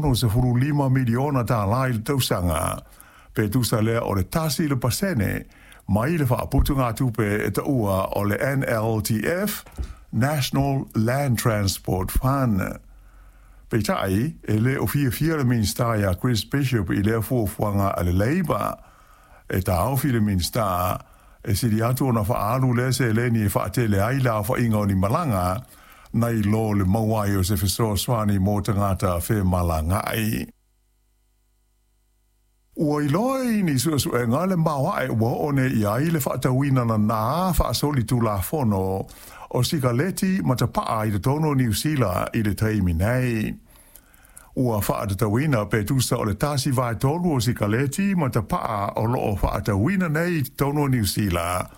$65 miliona tālā i le tausaga, pe tusa lea o le 1% mai le faaputugatupe e taua o le NLTF, National Land Transport Fund. Peitai, e le o fiafia le Minisita ia Chris Bishop i lea fuafuaga a le Labour. E taofi le Minisita, e sili atu ona faaalu lea seleni e faatele ai le aofaiga o ni malaga, nai lo le maua ai o se fesoasoani mo tagata femalagaai. Ua iloa i ni suesuega le maoae ua oo nei i ai le faatauina nana faasolitulafono o sikaleti ma tapaa i totonu o Niu Sila i le taimi nei. Ua faatatauina pe tusa o le 1/3 o sikaleti ma tapaa o loo faatauina nei i totonu o Niu Sila,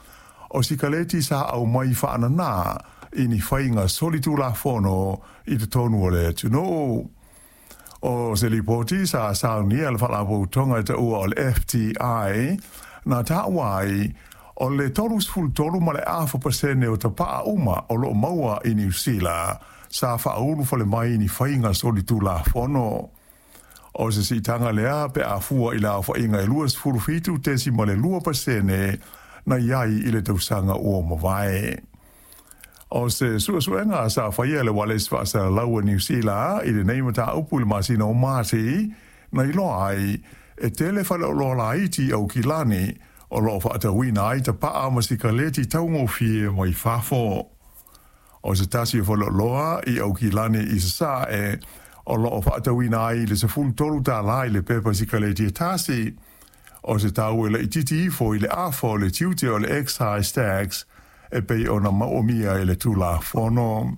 o sikaleti sa aumai faanana i ni faiga solitulafono i totonu o le atunuu. O se lipoti sa saunia e le faalapotopotoga e taua o le FTI na taua ai, o le 33.5% o tapaa uma o loo maua i Niu Sila sa faaulufale mai i ni faiga solitulafono. O se siitaga lea pe a fua i le aofaiga e 27.2% na i ai i le tausaga ua mavae. O se suesuega sa faia e le Ualesi Faasalalau a Niu Sila i lenei mataupu i le masina o Mati, na iloa ai, e tele faleoloa laiti i Aukilani o lo o faatauina ai tapaa ma sikaleti taugofie mai fafo. O se tasi o faleoloa i Aukilani i Sasae o lo o faatauina ai i le $13 i le pepa sikaleti e tasi, o se tau e laitiiti ifo i le afa o le tiute o le excise tax e pei ona maomia e le Tulafono.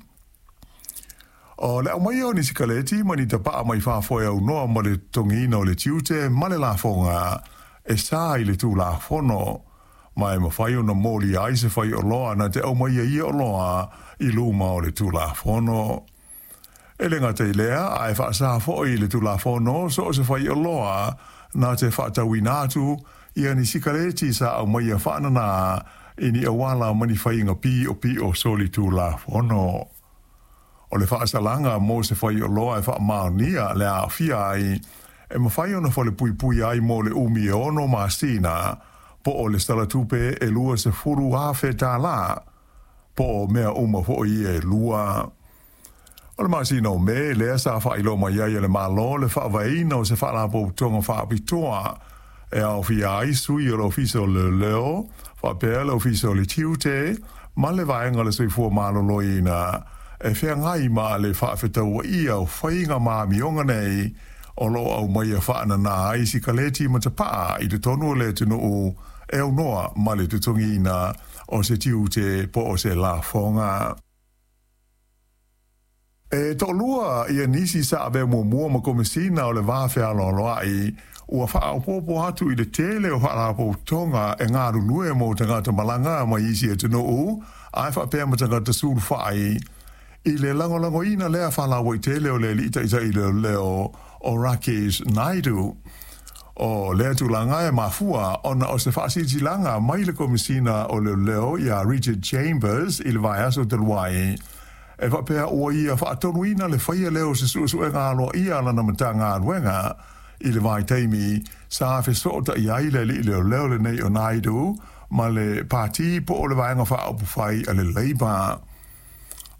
O le aumaia o ni sikaleti ma ni tapaa mai fafo e aunoa ma le totogiina o le tiute ma le lafoga e sa i le Tulafono, ma e mafai ona molia ai se faioloa na te aumaia ia oloa i luma o le Tulafono. E le gata i lea, ae faasa foi i le Tulafono so o se faioloa na te faatauina atu ia ni sikaleti sa aumaia faanana i ni auala ma ni faiga piopio solitulafono. O le faasalaga mo se faioloa e faamaonia le aafia ai, e mafai ona falepuipui ai mo le umi e 6 masina, po o le salatupe e $20,000, po o mea uma foi ia e lua. O le masina o Me lea sa faailoa mai ai e le Malo le faavaeina o se faalapotopotoga faapitoa e aofia ai sui o le Ofisa o Leoleo, faapea le Ofisa o le Tiute ma le Vaega o le Soifua Maloloina e feagai ma le faafetauaia o faiga ma amioga nei o lo o aumaia faanana ai sikaleti ma tapaa i totonu o le atunuu e aunoa ma le totogiina o se tiute po o se lafoga. E toalua ia nisi sa avea muamua ma Komesina o le Va Fealoaloai ua faaopoopo atu i le tele o faalapotopotoga e galulue mo tagata malaga mai isi atunuu ae faapea ma tagata sulufai i le lagolagoina lea faalauaitele o le alii taitai leoleo o Rakesh Naidu. O lea tulaga e mafua ona o se faasilasilaga mai le Komesina o Leoleo ia Richard Chambers i le vaiaso talu ai, e faapea ua ia faatonuina le faia lea o se suesuega aloaia a lana Matagaluega i le vaitaimi sa fesootai ai le alii leoleo lenei o Naidu ma le Pati po o le Vaega Faaupufai a le Labour.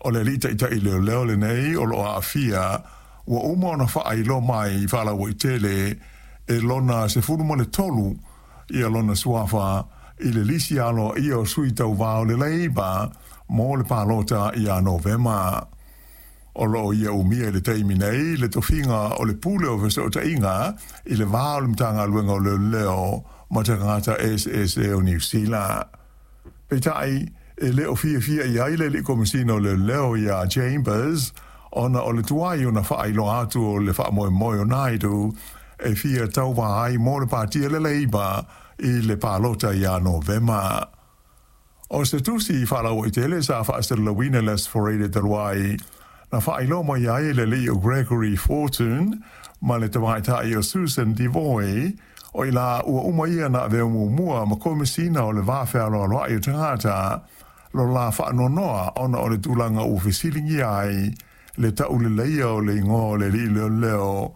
O le alii taitai leoleo lenei o lo o aafia ua uma ona faailoa mai faalauaitele e lona 13 ia lona suafa i le lisi aloaia o sui tauva o le Labour mo le palota ia Novema. O lo o ia umia i le taimi nei le tofiga o le Pule o Fesootaiga i le va o le Matagaluega o Leoleo ma tagata eseese o Niu Sila. Peitai, e le o fiafia i ai le alii Komesina o Leoleo ia Chambers ona o le tuai ona faailoa atu o le faamoemoe o Naidu e fia tauva ai mo le Pati a le Labour i le palota ia Novema. O se tusi faalauaitele sa faasalalauina i le Aso Faraile talu ai, na faailoa mai ai e le alii o Gregory Fortune ma le tamaitai o Susan Devoy, o i la ua uma ia na avea muamua ma Komesina o le Va Fealoaloai o Tagata, lo la faanoanoa ona o le tulaga ua fesiligia ai le tauleleia o le igoa o le alii leoleo.